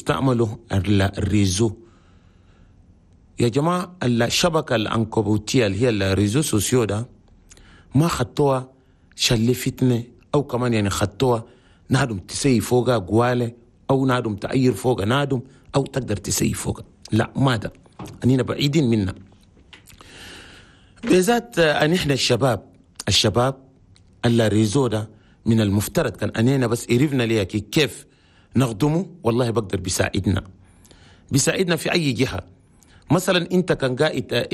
تستعملوا ال réseau يا جماعة. الشبكة العنكبوتية اللي هي ال réseaux sociaux ده ما خطوها شل فتنة، أو كمان يعني خطوها نادم تسي فوقها قوالة، أو نادم تأير فوقها نادم، أو تقدر تسي فوقها. لا، ما ده أنينا بعيدين منا، بالذات أن إحنا الشباب ال réseau ده من المفترض كان أنينا بس عرفنا ليه كيف نخدمه، والله بقدر بيساعدنا في أي جهة. مثلا أنت كان قاعد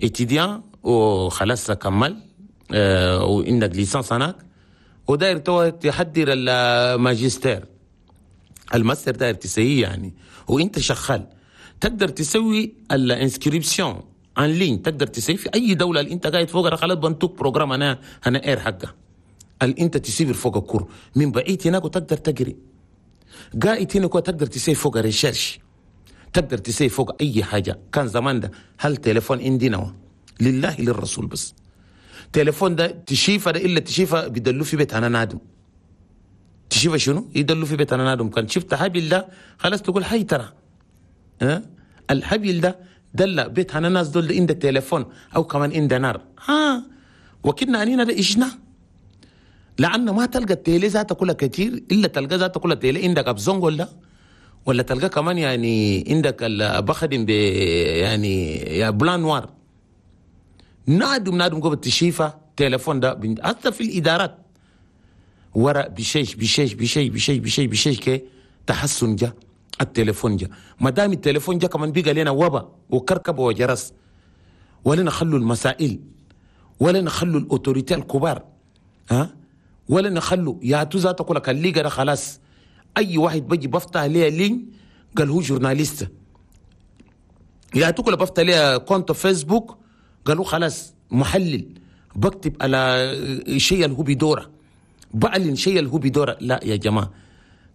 étudiant وخلاص كمل وعندك licence هناك وداير تو تحضر الماجستير، الماستر داير تسويه يعني، وانت شغال تقدر تسوي ال inscription en ligne، تقدر تسوي في اي دولة اللي انت قاعد فوقها. خلاص بنتوك programme انا اير حقه اللي انت تسيفر فوق ال cours من بعيد هناك وتقدر تقري قاعد هناك، وتقدر تسوي فوق recherche، تقدر تسوي فوق اي حاجة. كان زمان ده هل تليفون عندنا لله للرسول، بس تليفون ده تشيفه ده الا تشيفه بيدلوا في بيت انا نادم، تشيفه شنو يدلوا في بيت انا نادم. كان شفت حبيل ده خلاص تقول حي ترى أه؟ الحبيل ده دل بيت انا ناس دول عند التليفون او كمان عند نار ها، وكنا انينا ده إجنا لأنه ما تلقى ال télé ذاته كلها كتير، إلا تلقى ذاته كلها télé عندك أبزونغ ولا تلقى كمان يعني عندك بخدم ب يعني يا blanc noir. نادم نادم قبل تشيفة تليفون ده حتى في الإدارات ورا بشيش بشيش بشيش بشيش بشيش بشيش كي تحسن جا التليفون جا. ما دام التليفون جا كمان بيقى لنا وبا وكركب وجرس، ولا نخلوا المسائل، ولا نخلوا ال autorités الكبار، ها، ولا نخلوا يا تو ذاته كلك الليغا ده خلاص اي واحد بيجي بفتح ليه ligne قال هو journaliste، يا تو كله بفتح ليه compte فيسبوك قالوا خلاص محلل، بكتب على شيء اللي هو بيدوره، بعلن شيء اللي هو بيدوره. لا يا جماعة،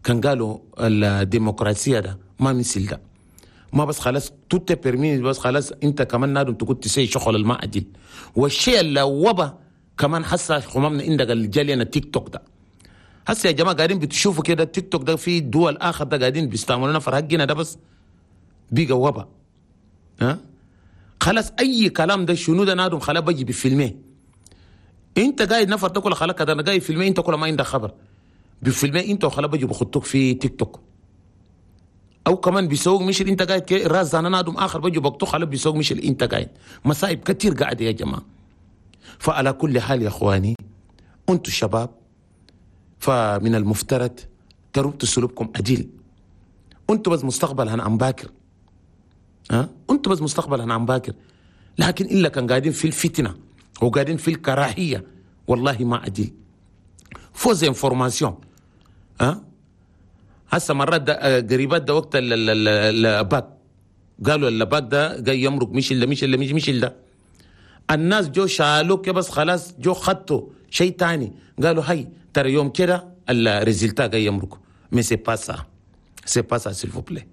كان قالوا الديمقراطية ده ما مثل ده، ما بس خلاص tout est permis، بس خلاص انت كمان نادم تقول تسي شغل الما عدل. والشيء اللي وبا كمان حسا خمامنا عندك الجالينا تيك توك ده. هسه يا جماعة قاعدين بتشوفوا كده التيك توك ده في دول اخر ده قاعدين بيستعملونا فرهقنا ده، بس بيقى وبا ها خلاص اي كلام ده شنو ده نادم خلاص بيجي بفيلميه. انت قاعد نفر تاكل خلاص كده انا قاعد فيلميه، انت كل ما عندك خبر بفيلميه انت وخلاص بيجي بخطوك في تيك توك، او كمان بيسوق مش انت قاعد كي راس انا نادم اخر بيجي بقطو خلاص بيسوق مش انت قاعد. مصايب كتير قاعدة يا جماعة. فعلى كل حال يا اخواني انتم الشباب فمن المفترض تربطوا سلوككم عديل. انتم بس مستقبل هنا عم باكر، ها انتم بس مستقبل هنا عم باكر، لكن الا كان قاعدين في الفتنة وقاعدين في الكراهية والله ما عديل. fausses informations ها هسه مرات قريبات ده وقت الباك قالوا الباك ده جاي يمرق مش الا مش الا مش مش الا الناس جو شالوك بس خلاص جو خدتوا شيء تاني قالوا هاي ترى يوم كده ال résultat جاي يمرق. mais c'est pas ça، c'est pas ça s'il vous plaît.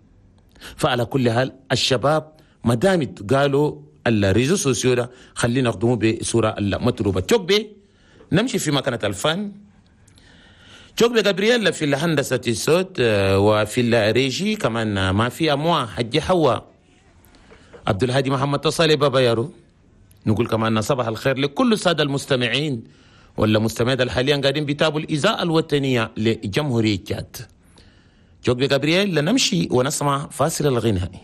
فعلى كل حال الشباب ما دامت قالوا ال réseaux sociaux ده خلينا نخدمه بصورة المطلوبة. تشوك نمشي في مكانه الفن. شوك جابرييل في الهندسة الصوت وفي الريجي كمان ما في أموا حجي حوا عبد الهادي محمد تصالي بابا يارو. نقول كمان صباح الخير لكل السادة المستمعين ولا مستمعين حاليا قاعدين بيتابعوا الإذاعة الوطنية لجمهورية تشاد. شوك جابرييل لنمشي ونسمع فاصل الغنائي.